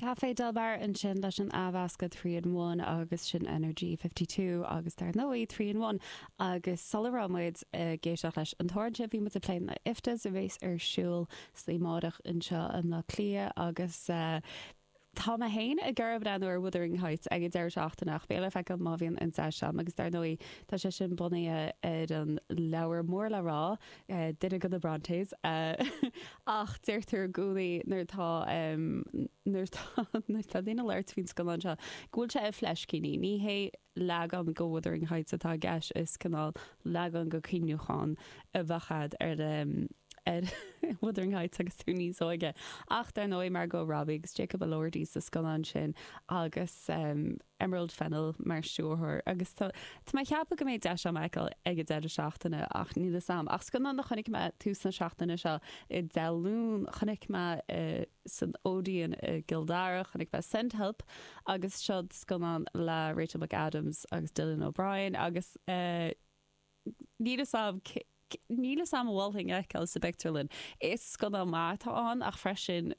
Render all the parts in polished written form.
Café Del Mar ansin leis an athmheascadh 3 in 1 agus sin Energy 52 agus dar ndóigh 3 in 1 agus sula raibh muid ag éisteacht leis an t-amhrán sin bhí muid ag plé na IFTAs a bhéas ar siúl sa amárach anseo i mBleá Cliath agus tá mé féin ag iarraidh breathnú ar Wuthering Heights ag an deireadh seachtaine ach beidh le feiceáil má bhíonn an deis agam agus dar ndóigh tá sé sin bunaithe ar an leabhar mór le rá duine de na Brontes Ach deirtear i gcónaí nuair atá nuair atá nuair atá daoine ag labhairt faoin scannán seo go bhfuil sé i fleiscíní. Ní hé leagan de Wuthering Heights atá i gceist, is cineál leagan de chuimhneachán a bheadh agat ar ar Wuthering Heights agus tú níos óige. Ach dar ndóigh Margot Robbie agus Jacob Elordi sa scannán sin agus. Emerald Fennell mar stiúrthóir agus tá tá mé ag ceapadh go mbeidh deis agam é a fheiceáil ag an deireadh seachtaine ach níl fhios a'm. Ach scannán a chonaic mé tús na seachtaine seo i Dé Luain, chonaic mé san Odeon i gCill Dara, chonaic mé Send Help agus seo scannán le Rachel McAdams agus Dylan O'Brien agus níl fhios a'm níl fhios a'm an mholfainn é a fheiceáil sa bpictiúrlann. Is scannán maith atá ann ach freisin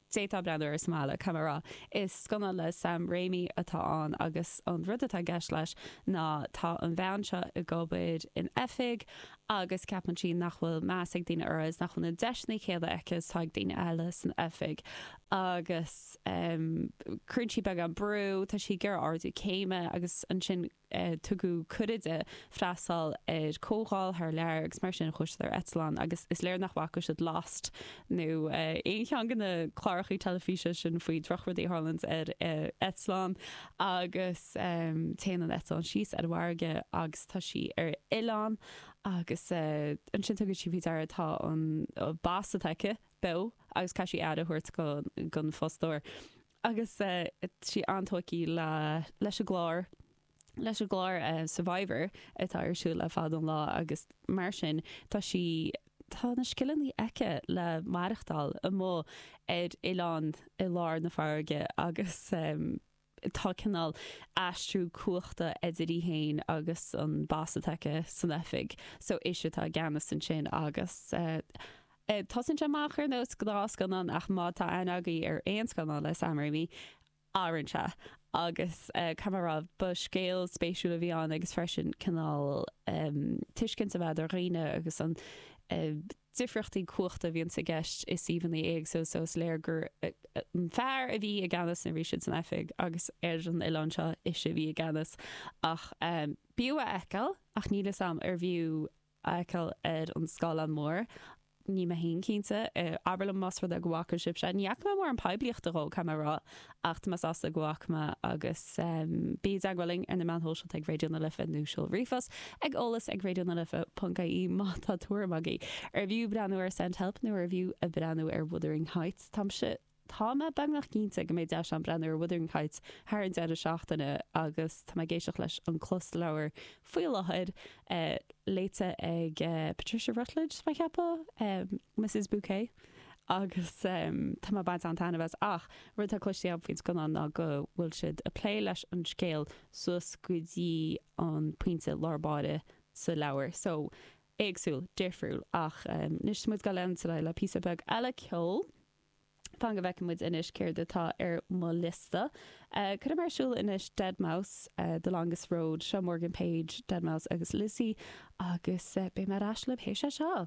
D'fhéadfá breathnú air sa mbaile, caithfidh mé a rá. Is scannán le Sam Raimi atá ann agus an rud atá i gceist leis ná tá an bhean seo ag obair in oifig agus ceapann sí nach bhfuil meas ag daoine uirthi is nach bhfuil na deiseanna céanna aici is atá ag daoine eile san oifig agus cuireann sí beagán brú, tá sí ag iarraidh ardú céime agus ansin tugadh cuireadh di freastal ar comhdháil thar lear agus mar sin chuaigh siad ar eitleán agus is léir nach bhfaca siad Lost nó aon cheann de na clárachaí teilifíse sin faoi drochrudaí a tharlaíonn ar eitleán agus téann an eitleán síos ar an bhfarraige agus tá sí ar oileán agus ansin tugann sí faoi deara tá an boss atá aici beo agus caithfidh sí aire a thabhairt don fostóir. Agus tá sí an-tógtha le leis an gclár leis an gclár Survivor atá ar siúl le fada an lá agus mar sin tá sí tá na scileanna aici le maireachtáil amuigh ar oileán i lár na farraige agus tá cineál aistriú cumhachta idir í féin agus an boss atá aici san oifig so ise atá i gceannas ansin agus Tosaíonn sé amach ar nós gnáthscannán ach má tá aithne agaibh ar aon scannán le Sam Raimi, athraíonn sé agus caithfidh mé a rá, ba scéal spéisiúil a bhí ann agus freisin cineál tuiscint a bheith ar dhaoine agus an difríochtaí cumhachta a bhíonns i gceist i suíomhanna éagsúla so is léir gur an fear a bhí i gceannas nuair a bhí siad san oifig agus ar an oileán seo ise a bhí i gceannas ach b'fhiú a fheiceáil ach níl fhios a'm ar bhfiú a fheiceáil ar an scáileán mór. Níl mé féin cinnte. Abair liom más rud é go bhfaca sibhse. Ní fhaca mé mórán poiblíochta dhó, caithfidh mé a rá, ach tá mé sásta go bhfaca mé agus bí i dteagmháil linn ar na meáin shóisialta ag Raidió na Life nó seol ríomhphost ag eolas ag raidionalife.ie má tá tuairim agaibh. Ar bhfiú breathnú ar Send Help nó ar bhfiú breathnú ar Wuthering Heights? Táimse. Tá mé beagnach cinnte go mbeidh deis agam breathnú ar Wuthering Heights thar an deireadh seachtaine agus tá mé ag éisteacht leis an closleabhar faoi láthair, léite ag Patricia Routledge, tá mé ag ceapadh, Mrs Bouquet, agus tá mé ag baint an-taitneamh as. Ach rud atá cloiste agam faoin scannán ná go bhfuil siad ag plé leis an scéal suas go dtí an pointe lár báire sa leabhar. So, éagsúil, difriúil. Ach anois tá muid ag dul leanúint ar aghaidh le píosa beag eile ceoil. Fan go bhfeicfidh muid anois céard atá ar mo liosta. Cuirfidh mé ar siúl anois Deadmau5, The Longest Road. Seo Morgan Page, Deadmau5 agus Lissie agus beidh mé ar ais libh théis é seo.